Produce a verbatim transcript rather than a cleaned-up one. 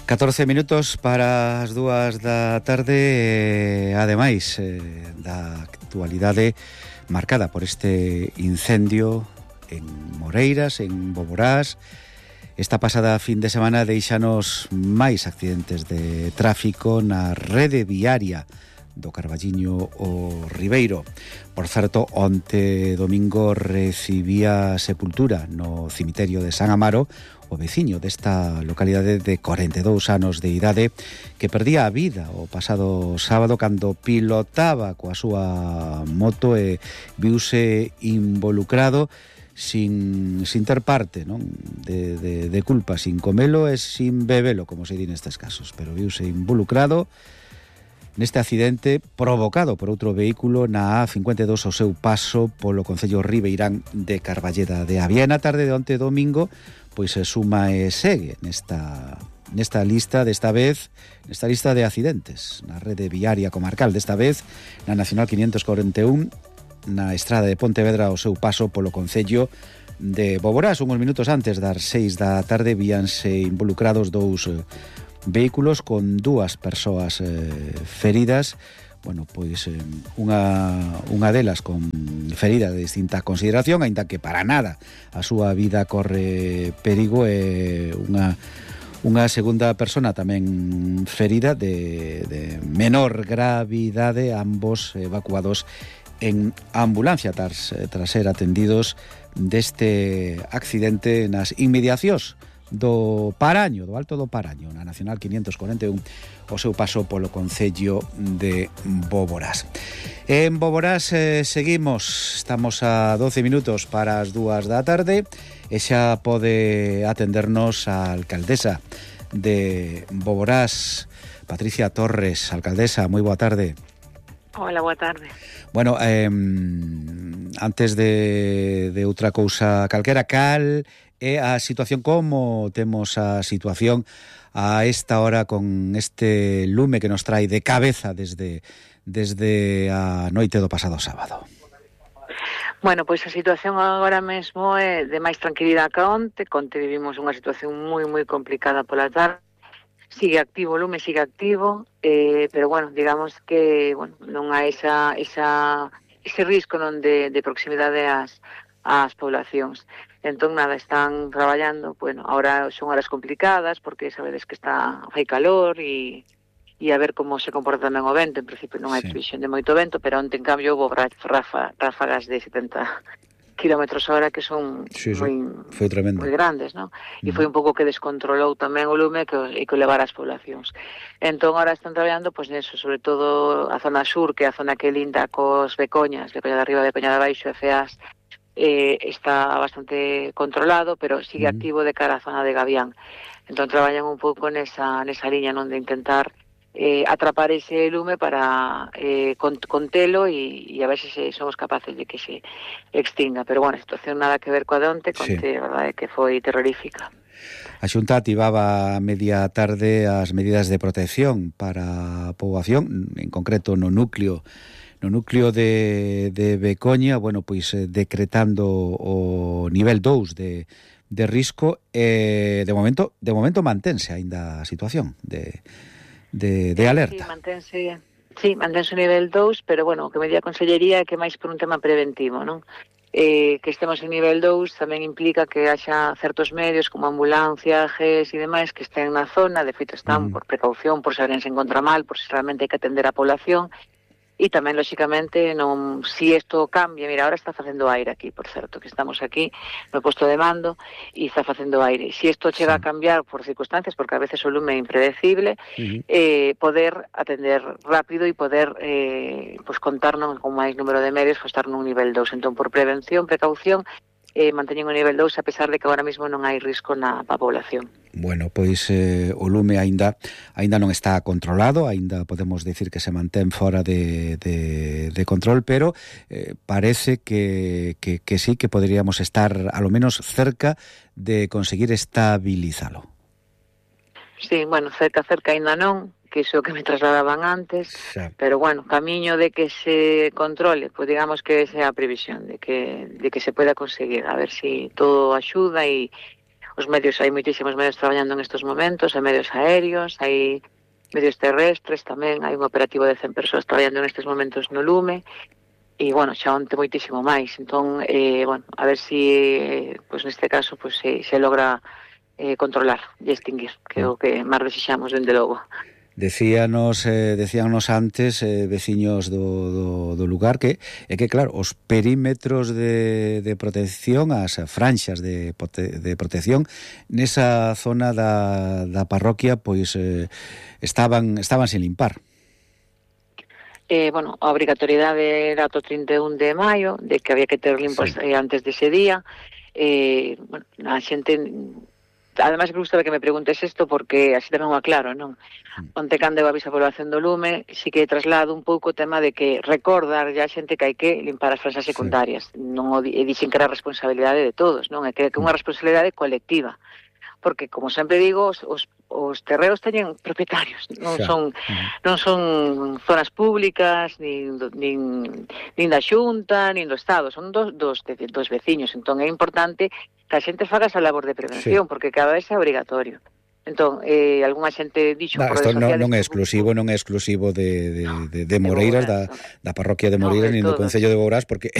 catorce minutos para as dúas da tarde, eh, ademais eh, da actualidade marcada por este incendio en Moreiras, en Boborás. Esta pasada fin de semana deixanos máis accidentes de tráfico na rede viaria do Carballiño o Ribeiro. Por certo, onte domingo recibía sepultura no cemiterio de San Amaro o veciño desta localidade de corenta e dous anos de idade que perdía a vida o pasado sábado cando pilotaba coa súa moto e viuse involucrado sin, sin ter parte, non? De, de, de culpa, sin comelo e sin bebelo, como se di nestes casos, pero viuse involucrado neste accidente provocado por outro vehículo na A cincuenta e dous ao seu paso polo concello ribeirán de Carballeda de Avia. Na tarde de onte domingo, pois se suma e segue nesta nesta lista, desta vez, nesta lista de accidentes na rede viaria comarcal, desta vez na Nacional quinientos cuarenta e un, na estrada de Pontevedra ao seu paso polo concello de Boborás. Uns minutos antes das seis da tarde víanse involucrados dous vehículos con dúas persoas eh, feridas. Bueno, pois eh, unha, unha delas con ferida de distinta consideración, aínda que para nada a súa vida corre perigo, e unha, unha segunda persona tamén ferida de, de menor gravidade, ambos evacuados en ambulancia tras, tras ser atendidos deste accidente nas inmediacións do Paraño, do Alto do Paraño, na Nacional quinientos cuarenta e un, o seu paso polo concello de Boborás. En Boborás eh, seguimos, estamos a doce minutos para as dúas da tarde e xa pode atendernos a alcaldesa de Boborás, Patricia Torres. Alcaldesa, moi boa tarde. Hola, boa tarde. Bueno, eh, antes de, de outra cousa calquera, cal é a situación, como temos a situación a esta hora con este lume que nos trae de cabeza desde desde a noite do pasado sábado? Bueno, pois a situación agora mesmo é de máis tranquilidade que onte. Onte vivimos unha situación moi, moi complicada pola tarde. Sigue activo, o lume sigue activo, eh, pero bueno, digamos que bueno, non hai esa, esa, ese risco non de, de proximidade ás, ás poblacións. Entón, nada, están traballando, bueno, ahora son horas complicadas, porque sabedes que está fai calor e, e a ver como se comporta tamén o vento. En principio non hai previsión de moito vento, pero onte, en cambio, houve rafa, ráfagas de setenta kilómetros a hora que son sí, sí. moi, foi tremendo, moi grandes, non? E foi un pouco que descontrolou tamén o lume que, e que levar as poblacións. Entón, ahora están traballando, pois, neso, sobre todo a zona sur, que é a zona que linda cos Becoñas, Becoña de arriba, Becoña de abaixo, F As, eh, está bastante controlado, pero sigue uh-huh. activo de cara á zona de Gavián. Entón, traballan un pouco nesa, nesa liña, non, de intentar eh, atrapar ese lume para eh, contelo e, e a ver se, se somos capaces de que se extinga. Pero, bueno, a situación nada que ver coa de onte, conte, sí. A verdade é que foi terrorífica. A Xunta activaba a media tarde as medidas de protección para a poboación, en concreto no núcleo no núcleo de, de Becoña, bueno, pois eh, decretando o nivel dous de, de risco, e eh, de momento de momento mantense aínda a situación de, de, de alerta. Sí, mantense, sí, mantense o nivel dous, pero bueno, o que me di a Consellería é que máis por un tema preventivo, non? Eh, que estemos en nivel dous tamén implica que haxa certos medios como ambulancia, G E S e demais que estén na zona, de feito están mm. por precaución, por se alguén se encontra mal, por se realmente hai que atender a población. E tamén, lóxicamente, non, si isto cambia, mira, ahora está facendo aire aquí, por certo, que estamos aquí no posto de mando e está facendo aire. Si isto chega sí. a cambiar por circunstancias, porque a veces o lume é impredecible, uh-huh. eh, poder atender rápido e poder eh, pues, contarnos con máis número de medios, pues, estar nun nivel dous. Entón, por prevención, precaución, eh, manteñen o nivel dous, a pesar de que agora mesmo non hai risco na pa población. Bueno, pois eh, o lume aínda aínda non está controlado, aínda podemos decir que se mantén fora de, de, de control, pero eh, parece que, que, que sí que poderíamos estar a lo menos cerca de conseguir estabilizalo. Sí, bueno, cerca, cerca aínda non, que iso que me trasladaban antes, xa. Pero bueno, camiño de que se controle, pues digamos que esa é a previsión de que de que se pueda conseguir, a ver si todo axuda e os medios, hai moitísimos medios traballando en estes momentos, hai medios aéreos, hai medios terrestres tamén, hai un operativo de cen persoas traballando nestes momentos no lume, e, bueno, xa onte moitísimo máis. Entón, eh, bueno, a ver si, eh, pues, neste caso, pues, se, se logra eh, controlar e extinguir, que é o que máis desexamos, dende logo. Decíanos, eh, decíanos antes eh, veciños do, do, do lugar que é que, claro, os perímetros de, de protección, as franxas de, de protección nesa zona da, da parroquia, pois eh, estaban estaban sin limpar. Eh, bueno, a obrigatoriedade era o trinta e un de maio, de que había que ter limpos, sí, eh, antes dese día. Eh, bueno, a xente... Ademais, me gusta que me preguntes isto porque así tamén o aclaro, non? Onte cando eu aviso a población do lume, si que traslado un pouco o tema de que recordar ya a xente que hai que limpar as franxas secundarias. Sí. Non o di, e dixen que era responsabilidade de todos, non? É que é unha responsabilidade colectiva. Porque, como sempre digo, os, os, os terreos teñen propietarios, non Xa. son non son zonas públicas, nin, nin, nin da Xunta, nin do Estado, son dos, dos, dos veciños. Entón é importante que a xente faga esa labor de prevención, sí, porque cada vez é obrigatorio. Entón, eh, algunha xente dixo nah, por redes sociales... Non, non é exclusivo, non é exclusivo de, de, de, de Moreiras, da, da parroquia de Moreiras, no, nin do Concello de Bourás, porque